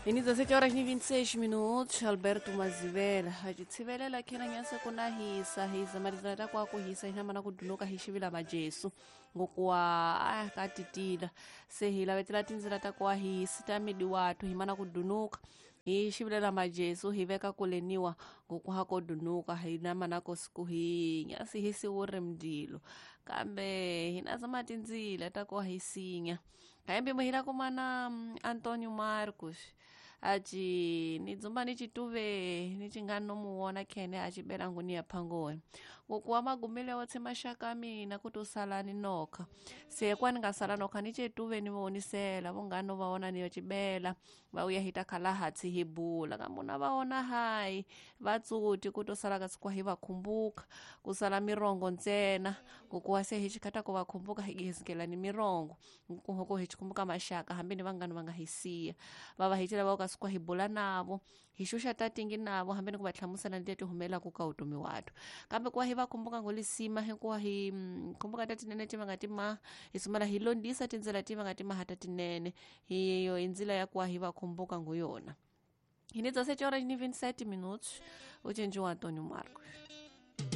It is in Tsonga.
Hi ni 17 horas ni 26 minutos. Alberto Mazivela a ci tshivelela khena nyase ku na hisa hisa marizana ta kwa ku hisa hina mana ku dunuka hi xivila majesu ngokuwa a ka titila se hi lavetela tindzila ta kwa hisi ta midi watu hi mana ku dunuka hi xivilela majesu hi veka kuleniwa ngokuha ko dunuka hi na mana ko siku hi nyasi hi siwuri mdilo kambe hi na zama tindzila ta kwa hi sinya kaembe muhila kumana Antonio Marcos aci ni dzumba ni cituve ni cingani no muwona khene a cibela nguni ya phangoni ngokuwa magumile wotse maxaka a mina kuti usala ni nokha se kwa ni nga sala nokha ni cetuve ni vonisela vongani no va vona ni yo cibela va uya hi ta khala hatsi hi bula kambe na va vona hayi va tsuti kuti usala ka sikwa hi va khumbuka ku sala mirongo ntsena ngokuwa se hi xikhata ku va khumbuka hi gihizikela ni mirongo nkuhoko hi xikhumbuka maxaka hambi ni vangani va nga hi siya va va hi cela va ka sikwa hi bula navo hi xuxa tatingi navo hambi ni ku va hlamusela ni leti humelelaka ka vutomi watu kambe kuva hi va khumbuka ngolisima hikuva hi khumbuka ta tinene ti va nga ti ma hi sumela hi londisa tindzela ti va nga ti maha ta tinene hi yo i ndzila ya kuva hi va khumbuka ngo yona hi ni 17 horas ni 27 minutos u cinci wa Antonio Marcos.